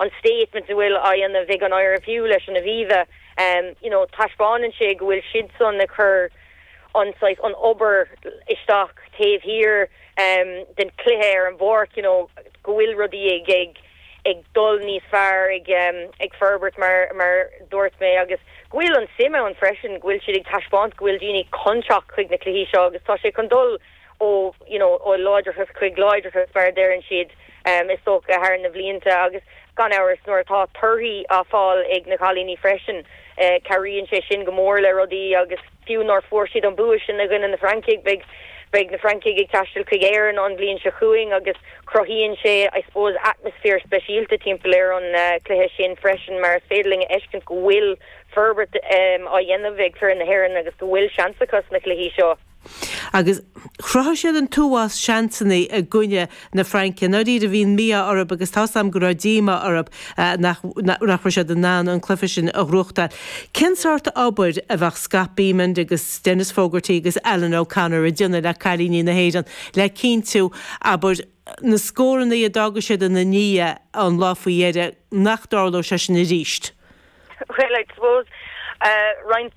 an statement a bhfuil á dhéanamh ag an IRFU leis an Aviva, you know, taispeánann sé go bhfuil siadsan ag cur an saghas, an obair isteach taobh thiar den chluiche ar an bpáirc, you know, go bhfuil rudaí ag, ag, ag dul níos fearr, ag, ag forbairt mar, mar dúirt mé agus go bhfuil an suim ann freisin, go bhfuil siad ag taispeáint go bhfuil daoine chun teacht chuig na cluichí seo agus tá sé chun dul ó, you know, ó láidreachas chuig láidreachas mar a deireann siad, is dócha, thar na bhlianta agus gan amhras nuair atá torthaí á fáil ag na cailíní freisin, cabhraíonn sé sin go mór le rudaí agus fiú nár fuair siad an bua sin i gcoinne na Francaigh, beidh, beidh na Francaigh ag taisteal chuig Éirinn an bhliain seo chugainn agus cruthaíonn sé, I suppose, atmaisféar speisialta timpeall ar an cluiche sin freisin mar is féidir linn a fheiscint go bhfuil forbairt á dhéanamh ag foireann na hÉireann agus go bhfuil seans acu sna cluichí seo. Agus chruthaigh siad an t-uafás seansanna i gcoinne na Fraince. I ndáiríre bhí an mí-ádh orthu agus tá's a'm go raibh díomá orthu nach nach raibh siad in ann an cluiche sin a ghnóthachtáil. Cén sórt obair a bheadh Scott Bemand agus Denis Fogarty agus Alan O'Connor ag déanamh le cailíní na hÉireann le cinntiú, abair, na scóranna a d'fhága siad ina ndiaidh an lá faoi dheireadh, nach dtarlódh sé sin arís? Well, I suppose, roinnt.